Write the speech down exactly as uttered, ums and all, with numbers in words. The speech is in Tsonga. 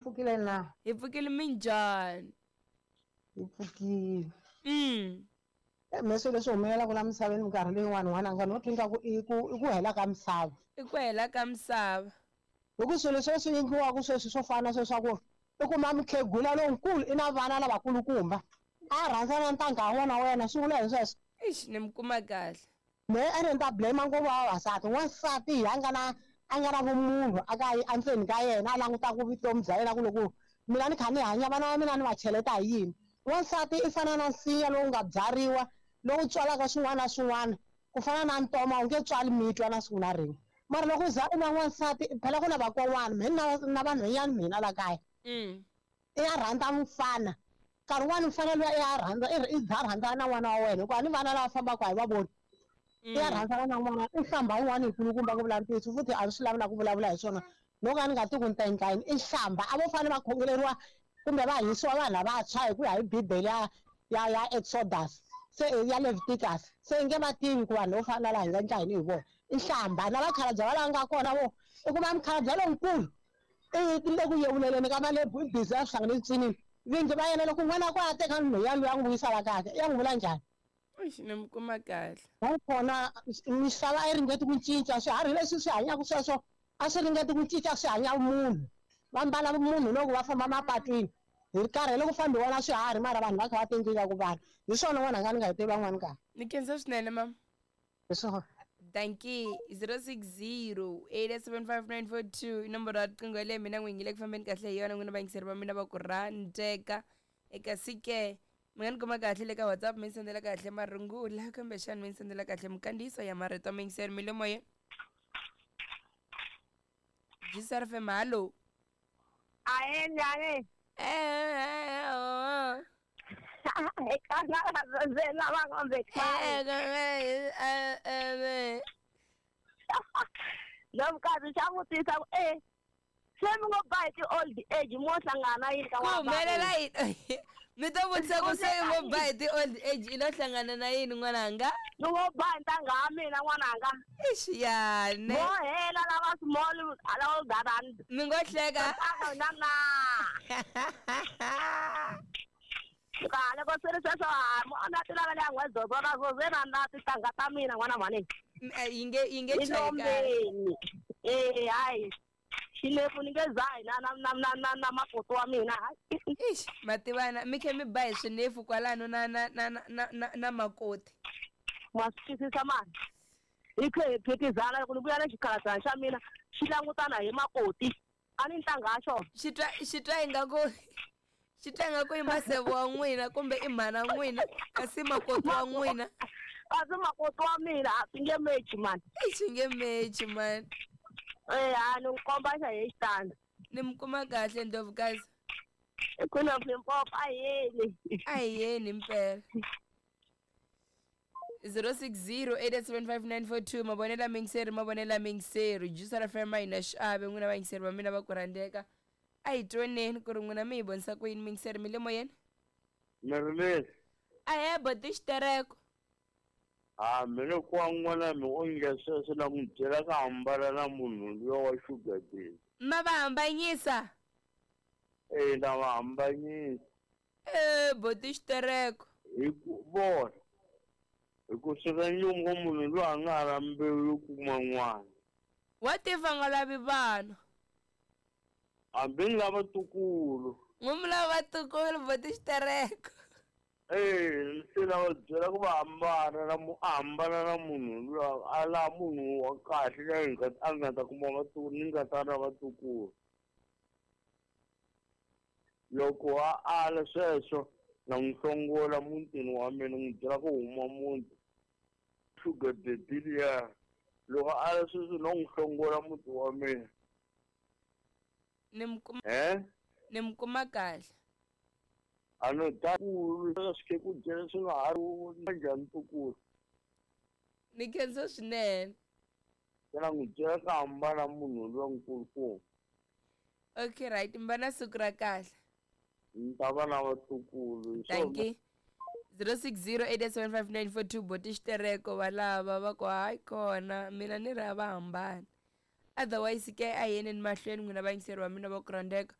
Pfukile na? Hi pfukile minjhani? Hi pfukile. Mm. Me swilo leswi humelelaka la misaveni minkarhi leyin'wani n'wananga no twa ingaku i ku i ku hela ka misava. I ku hela ka misava. Hi ku swilo sweswi endliwaka sweswi swo fana na sweswaku i kuma mukhegula lonkulu i na vana lavakulukumba a rhandza na ntangha wa n'wana wa wena swi vula hi sweswo. Ixi ni mi kuma kahle. Mehe ene ni ta blame ngopfu vavasati n'wansati hi a nga na a nga na vumunhu a ka endzeni ka yena a langutaka vutomi bya yena ku loko mina ni kha ni hanya vana va mina ni va cheleta hi yini. N'wansati i fana na nsinya lowu nga byariwa lowu tswalaka swin'wana na swin'wana ku fana na ntoma wu nge tswali mitwa na siku na rin'we mara loko u za u na n'wansati phela ku na vakon'wana mehe na na vanhwanyana mina la kaya Mm. i ya rhandza mufana nkarhi wun'wani mufana luya i ya rhandza i za rhandzana na n'wana wa wena hikuva a ni vana lava fambaka a hi va voni i ya rhandzana na n'wana i hlamba yin'wana yikulukumba ku vula ntiyiso futhi a swi lavi na ku vulavula hi swona no ka ni nga tiku ni ta endla yini i hlamba a vo fanele va khongeleriwa kumbe va hisiwa vanhu lavantshwa hi ku ya hi bibele ya ya ya Exodus se ya Leviticus se i nge va tivi ku vanhu vo fana na laha hi nga endla yini hi vona i hlamba na vakhalabye va lava nga kona vo i kuma mukhalabye lonkulu i le ku yevuleleni ka malebhu i busy a swi hlangane cinini vingi va yena loko n'wana ku a teka nhwenya luya n'wi vuyisa la kaya ya n'wi vula njhani. Ixi ni mi kuma kahle. Nakona misava a yi ringeti ku cinca swiharhi leswi swi hanyaka sweswo a swi ringeti ku cinca swi hanya munhu va mbala munhu loko va famba mapatwini hi karhele ku fambiwa na swiharhi mara vanhu va kha va tinkingha ku vanhu hi swona n'wananga ni nga hi tivi van'wani kahle. Ni khensa swinene mama. Hi swona. Dankie zero six zero eight seven five nine four two i nomboro ya riqingho yaleyo mina n'wi yingile ku fambeni kahle hi yona n'wina vayingiseri va mina va ku rhandzeka eka sike mi nga ni kuma kahle le ka WhatsApp mi ni sendela kahle marungula kumbexani mi ni sendela kahle minkandziyiso ya marito muyingiseri mi le moyeni. G S R F M, hallo. Ahe, njhani? Eh, oh. Eka lava ngombe Eh, eh, eh, Ndlovukazi xa vutisa ku e se mi ngo ba hi ti-old age mo hlangana yini ka ku humelela yini mi to vutisa ku se i ngo ba hi ti-old age i lo hlangana na yini n'wananga? Ni ngo ba hi ntangha ya mina n'wananga. Ixi yane. Vo hela lava small lava garand. Mi ngo hleka. Na na kahle ko swi ri sweswo a na ti lavela ya n'wezozo na zoze na na tintangha ta mina n'wana mhani. Yi nge yi nge chayi kahle. Ilombeni eh hayi xilepfu ni nge zahi na na na na na na makoti wa mina hayi. Ixi mativana mi khe mi ba hi swinefu kwalano na na na na na na makoti. Ma swi twisisa mani hi khe hi phikizana loko ni vuya na xikhalabana xa mina xi langutana hi makoti a ni ntangha ya xona. Xi twa xi twa ingaku xi twa ingaku i maseve wa n'wina kumbe i mhana n'wina kasi makoti wa n'wina. Kasi makoti wa mina a swi nge mechi mani. Swi nge mechi mani. Eh a ni n'wi komba xa hi xitandi. Ni mi kuma kahle Ndlovukazi. I Queen of Limpopo a hi yeni. A hi yeni mpela. zero six zero eight seven five nine four two mavonelo ya miyingiseri mavonelo ya miyingiseri Juice F M a yi na xiave n'wina vayingiseri va mina va ku rhandzeka a hi twaneni ku ri n'wina mi hi vonisa ku yini miyingiseri mi le moyeni. Meri Ahee boti xitereko. Ha mina kwa n'wana mi onge sweswo na n'wi byela ka hambana na munhu luya wa sugar daddy. Ma va hambanyisa? Eh na va hambanyisa. Eh boti xitereko. Hi ku vona hi ku sweka nyungu munhu loyi a nga ha mbewu yo kuma n'wana. What if a nga lavi vana? Hambi ni lava ntukulu. N'wi mi lava vatukulu boti xitereko. Eh se lava byela ku va hambana na mu a hambana na munhu luya a lava munhu wa kahle loyi nga a nga ta kuma vatukulu ni nga ta na vatukulu. Loko a ala sweswo na n'wi hlongola mutini wa mina n'wi byela ku huma muti sugar daddy liya loko a ala sweswo no n'wi hlongola muti wa mina. Ni mi kuma Eh ni mi kuma kahle. A no ta ku swi ku byela swi nga ha ri njhani ntukulu. Ni khensa swinene. Xana n'wi byela ka hambana munhu luya nkulukumba. Okay right mi va na siku ra kahle. Ni ta va na vatukulu. Dankie. zero six zero eight seven five nine four two boti xitereko va lava va ku hayi kona mina ni ri a va hambani otherwise ke a hi yeneni mahlweni n'wina vayingiseri va mina va ku rhandzeka.